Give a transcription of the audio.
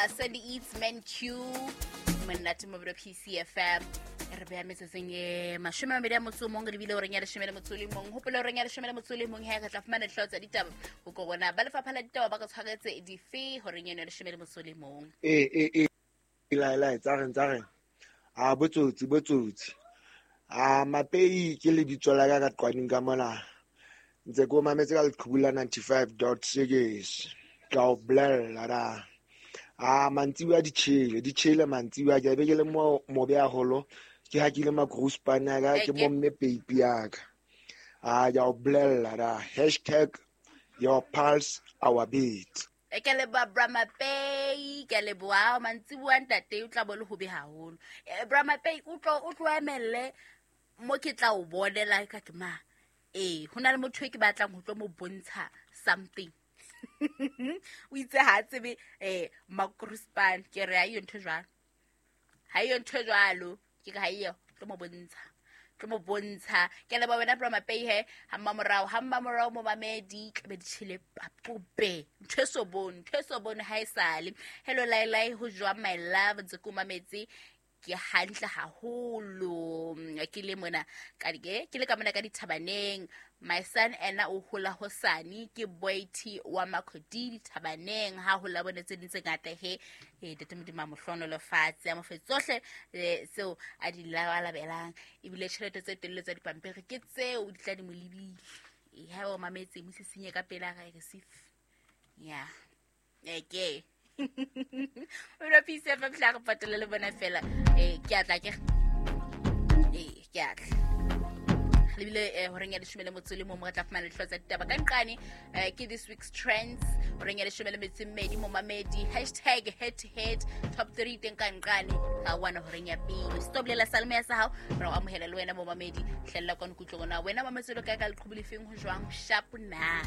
Sandy Eats Man Q monate mo bro PCFM re beya metsotsong e 21 re lebile horeng ya 11. Hopola horeng ya 11 he re tla fumana dihlooho tsa ditaba ho ko rona ba lefapha la ditaba ba ka tshwaretse dife horeng eno ya 11. E la tsa reng a botsotsi a Mapei ke lebitso la ka ka qwaneng ka mona ntse ko mametse ka leqhubu la 95.6 ka o bolella da a mantsibuya di tjhele mantsibuya ke be ke le mo mobe haholo ke ha ke ile magrospan ya ka ke mo mme peipi ya ka a ya o bolella da #your pulse our beat. Ke leboha Bra Mapei, ke leboha mantsibuya ntate o tla bo le hobe haholo. Bra Mapei o tlo emelle mo ke tla o bonela ka ke ma. Ho na le motho e ke batlang ho tlo mo bontsha something. O itse ha tsebe magrospan ke re ha iyo ntho jwalo. Ha iyo ntho jwalo ke ka ha iyo tlo mo bontsha. Tlo mo bontsha. Ke leboha wena Bra Mapei he ha mmamorao mo mamedi tlabe di tjhele papope. Ntho e so bone ha e sale. Hello Lailai ho jwang my love ntse ko mametse ke hantle haholo ke le mona ka ke le ka mona ka dithabaneng. My son ena o hola hosane ke boy T wa Makhodi dithabaneng ha hola bone tse ding tse ngata he tete Modimo a mo hlohonolofatse a mo fe tsohle tseo a di labalabelang ebile tjhelete tse telele tsa dipampiri ke tseo di tla di mo lebile. Ha o mametse mo sisinye ka pela ga receive ya eke o lo pisa fa fla re patela le bona fela ke atla ke ke atla lebile horeng ya 11 mo re tla fumana dihlooho tsa ditaba ka nqane ke this week's trends horeng ya 12 momamedi #head to head top 3 teng ka nqane ga wana horeng ya pele stop lela salme ya sa hao re o amohela le wena momamedi hlella kwa nkutlong na wena mametse lo kae ka leqhubu lefeng ho jwang sharp na.